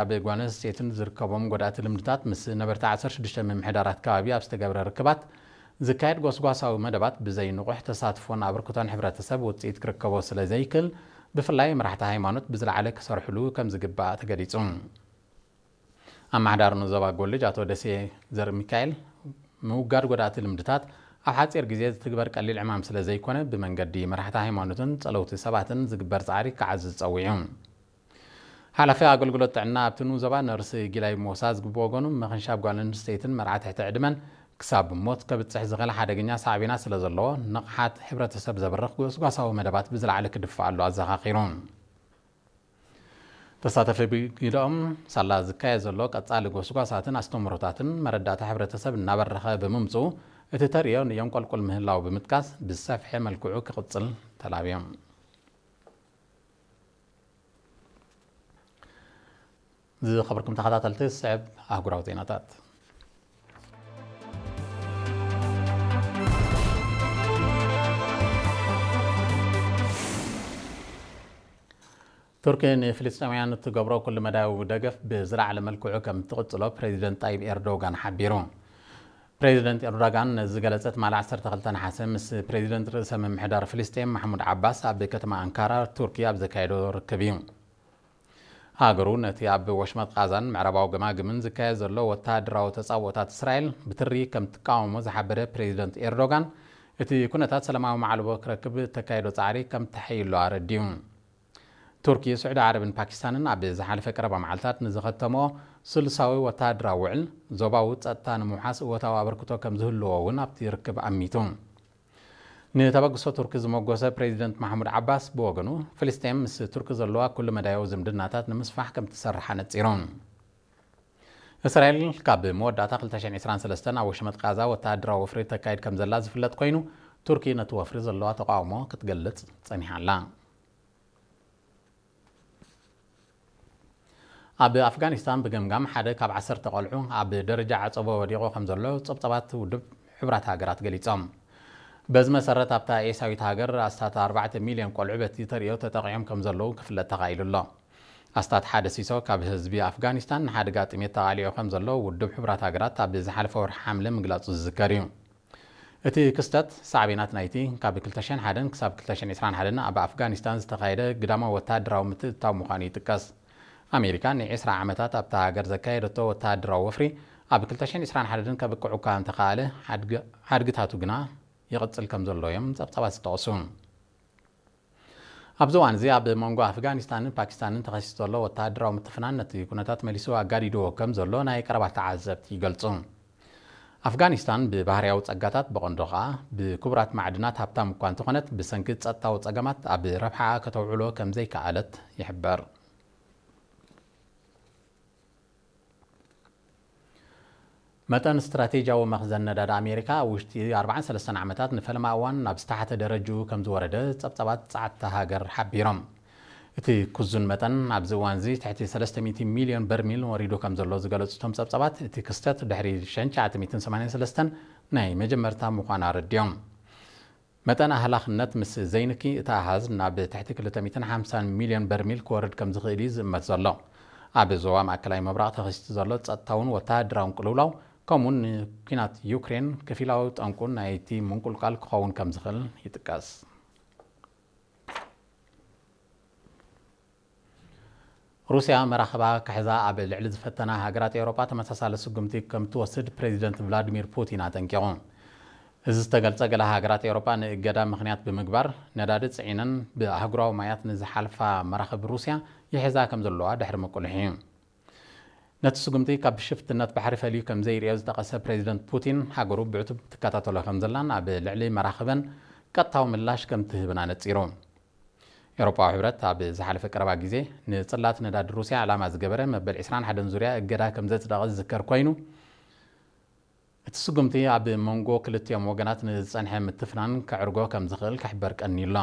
ኣብ ጓል ኣንስተይትን ዝርከቦም ጎዳእቲ ልምድታት ምስ ነበርቲ ዓሰርተ ሽዱሽተ ምምሕዳራት ከባቢ ኣብ ዝተገብረ ርክባት ዝካየድ ጎስጓሳዊ መደባት ብዘይ ንቑሕ ተሳትፎን ኣበርክቶን ሕብረተሰብ ውፅኢት ክርከቦ ስለ ዘይክል፣ ብፍላይ መራሕቲ ሃይማኖት ብዝለዓለ ክሰርሕሉ ከም ዝግባእ ተገሊጹ። ኣመሓዳሪ ዞባ ጎልጅ ኣቶ ደሴ ዘርሚካኤል፣ ምውጋድ ጎዳእቲ ልምድታት ኣብ ሓጺር ግዜ ዝትግበር ቀሊል ዕማም ስለ ዘይኮነ፣ ብመንገዲ መራሕቲ ሃይማኖትን ጸለውቲ ሰባትን ዝግበር ጻዕሪ ክዓዝዝ ጸዊዑ። ሓላፊ ኣገልግሎት ጥዕና ኣብቲ ንኡስ ዞባ ነርስ ጊላይ ሞሳ ዝግብ ወገኑ፣ ምኽንሻብ ጓል ኣንስተይትን መርዓ ትሕቲ ዕድመን ክሳብ ሞት ከብጽሕ ዝኽእል ሓደገኛ ሳዕቤናት ስለ ዘለዎ፣ ንቕሓት ሕብረተሰብ ዘብርኽ ጎስጓሳዊ መደባት ብዝለዓለ ክድፋኣሉ ኣዘኻኺሩ። ተሳተፊ ብግደኦም፣ ሳላ ዝካየድ ዘሎ ቀጻሊ ጎስጓሳትን ኣስተምህሮታትን መረዳእታ ሕብረተሰብ እናበረኸ ብምምጽኡ፣ እቲ ተርእዮ ንየንቆልቁል ምህላው ብምጥቃስ፣ ብዝሰፍሐ መልክዑ ክቕጽል ተላብዮም። ዝኸበርኩም ተኸታተልቲ፣ ዝስዕብ ኣህጉራዊ ዜናታት። ቱርኪ ንፍልስጤማውያን እትገብሮ ኩሉ መዳያዊ ደገፍ ብዝለዓለ መልክዑ ከም እትቕጽሎ ፕሬዚደንት ጣይብ ኤርዶጋን ሓቢሩ። ፕሬዚደንት ኤርዶጋን ነዚ ዝገለጸ ትማሊ ዓሰርተ ክልተ ነሓሰ ምስ ፕሬዚደንት ርእሰ ምምሕዳር ፍልስጤም ማሕሙድ ዓባስ ኣብ ከተማ ኣንካራ ቱርኪ ኣብ ዘካየዶ ርክብ እዩ። ሃገሩ ነቲ ኣብ ወሽመጥ ቃዛን ምዕራባዊ ገማግምን ዝካየድ ዘሎ ወተሃደራዊ ተጻብኦታት እስራኤል ብትሪ ከም ትቃወሞ ዝሓበረ ፕሬዚደንት ኤርዶጋን፣ እቲ ኩነታት ሰላማዊ ማዕልቦ ክረክብ እተካየዶ ጻዕሪ ከም ተሐይሎ ኣረዲኡ። ቱርኪ፣ ስዑዲ ዓረብን ፓኪስታንን ኣብ ዝሓለፈ ቀረባ መዓልታት ንዝኸተምኦ ስሉሳዊ ወተሃደራዊ ውዕል፣ ዞባዊ ጸጥታ ንምውሓስ እወታዊ ኣበርክቶ ከም ዝህልዎ እውን ኣብቲ ርክብ ኣሚቱ። ንተበግሶ ቱርኪ ዝመጎሰ ፕሬዚደንት ማሕሙድ ዓባስ ብወገኑ፣ ፍልስጤም ምስ ቱርኪ ዘለዋ ኩሉ መዳያዊ ዝምድናታት ንምስፋሕ ከም ትሰርሕ ኣነጺሩ። እስራኤል ካብ መወዳእታ ክልተ ሽሕን ዕስራን ሰለስተን ኣብ ወሽመጥ ቃዛ ወተሃደራዊ ወፍሪ ተካይድ ከም ዘላ ዝፍለጥ ኮይኑ፣ ቱርኪ ነቲ ወፍሪ ዘለዋ ተቃውሞ ክትገልጽ ጸኒሓ ኣላ። ኣብ ኣፍጋኒስታን ብገምጋም ሓደ ካብ ዓሰርተ ቆልዑ ኣብ ደረጃ ዓጸቦ ወዲቑ ከም ዘሎ ጸብጻባት ውድብ ሕቡራት ሃገራት ገሊጾም። በዚ መሰረት፣ ኣብታ ኤስያዊት ሃገር ኣስታት ኣርባዕተ ሚልዮን ቆልዑ በቲ ተርእዮ ተጠቒዖም ከም ዘለዉ ክፍለጥ ተኻኢሉ ኣሎ። ኣስታት ሓደ ሲሶ ካብ ህዝቢ ኣፍጋኒስታን ንሓደጋ ጥሜት ተቓሊዑ ከም ዘሎ ውድብ ሕቡራት ሃገራት ኣብ ዝሓለፈ ወርሒ ሓምለ ምግላጹ ዝዝከር እዩ። እቲ ክስተት ሳዕቤናት ናይቲ ካብ ክልተ ሽሕን ሓደን ክሳብ ክልተ ሽሕን ዕስራን ሓደን ኣብ ኣፍጋኒስታን ዝተኻየደ ግዳማዊ ወተሃደራዊ ምትእትታው ምዃኑ ይጥቀስ። ኣሜሪካ ንዕስራ ዓመታት ኣብታ ሃገር ዘካየደቶ ወተሃደራዊ ወፍሪ ኣብ ክልተ ሽሕን ዕስራን ሓደን ከብቅዑ እኳ እንተኸኣለ፣ ሓድግ-፣ ሓድግታቱ ግና ይቕጽል ከም ዘሎ እዮም ጸብጻባት ዝጠቕሱ። ኣብዚ እዋን እዚ ኣብ መንጎ ኣፍጋኒስታንን ፓኪስታንን ተኸሲቱ ዘሎ ወተሃደራዊ ምትፍናን ነቲ ኩነታት መሊሱ ኣጋዲድዎ ከም ዘሎ ናይ ቀረባ ተዓዘብቲ ይገልጹ። ኣፍጋኒስታን ብባህርያዊ ጸጋታት፣ ብቐንዱ ኸኣ ብክቡራት ማዕድናት ሃብታም እኳ እንተኾነት፣ ብሰንኪ ጸጥታዊ ጸገማት ኣብ ረብሓኣ ከተውዕሎ ከም ዘይከኣለት ይሕበር። መጠን ስትራቴጂያዊ መኽዘን ነዳዲ ኣሜሪካ ኣብ ውሽጢ ኣርባዓን ሰለስተን ዓመታት ንፈለማ እዋን ናብ ዝተሓተ ደረጅኡ ከም ዝወረደ ጸብጻባት ጸዓት እታ ሃገር ሓቢሮም። እቲ ክዙን መጠን ኣብዚ እዋን እዚ ትሕቲ ሰለስተ ሚእቲ ሚልዮን በርሚል ወሪዱ ከም ዘሎ ዝገለጹ እቶም ጸብጻባት፣ እቲ ክስተት ድሕሪ ሽሕን ትሽዓተ ሚእትን ሰማንያን ሰለስተን ናይ መጀመርታ ምዃኑ ኣረዲኦም። መጠን ኣህላኽነት ምስ ዘይንኪ፣ እቲ ኣሃዝ ናብ ትሕቲ ክልተ ሚእትን ሓምሳን ሚልዮን በርሚል ክወርድ ከም ዝኽእል እዩ ዝእመት ዘሎ። ኣብ ዞባ ማእከላይ ምብራቕ ተኸሲቱ ዘሎ ጸጥታውን ወተሃደራውን ቅልውላው፣ ከምኡውን ንኲናት ዩክሬን፣ ከፊላዊ ጠንቁ ናይቲ ምንቁልቋል ክኸውን ከም ዝኽእል ይጥቀስ። ሩስያ መራኽባ ክሕዛ ኣብ ልዕሊ ዝፈተና ሃገራት ኤውሮጳ ተመሳሳሊ ስጉምቲ ከም ትወስድ ፕሬዚደንት ቭላዲሚር ፑቲን ኣጠንቂቑ። እዚ ዝተገልጸ፣ ገለ ሃገራት ኤውሮጳ ንእገዳ ምኽንያት ብምግባር፣ ነዳዲ ጽዒነን ብኣህጉራዊ ማያት ንዝሓልፋ መራኽብ ሩስያ ይሕዛ ከም ዘለዋ ድሕሪ ምቁልሑ እዩ። ነቲ ስጉምቲ ካብ ሽፍትነት ባሕሪ ፈልዩ ከም ዘይርእዮ ዝጠቐሰ ፕሬዚደንት ፑቲን፣ ሃገሩ ብዕቱብ ትከታተሎ ከም ዘላን ኣብ ልዕሊ መራኽበን ቀጥታዊ ምላሽ ከም ትህብን ኣነጺሩ። ኤውሮጳዊ ሕብረት ኣብ ዝሓለፈ ቀረባ ግዜ ንጽላት ነዳዲ ሩስያ ዕላማ ዝገበረ መበል ዕስራን ሓደን ዙርያ እገዳ ከም ዘጽደቐ ዝዝከር ኮይኑ፣ እቲ ስጉምቲ ኣብ መንጎ ክልቲኦም ወገናት ንዝጸንሐ ምትፍናን ከዕርጎ ከም ዝኽእል ክሕበር ቀንዩ ኣሎ።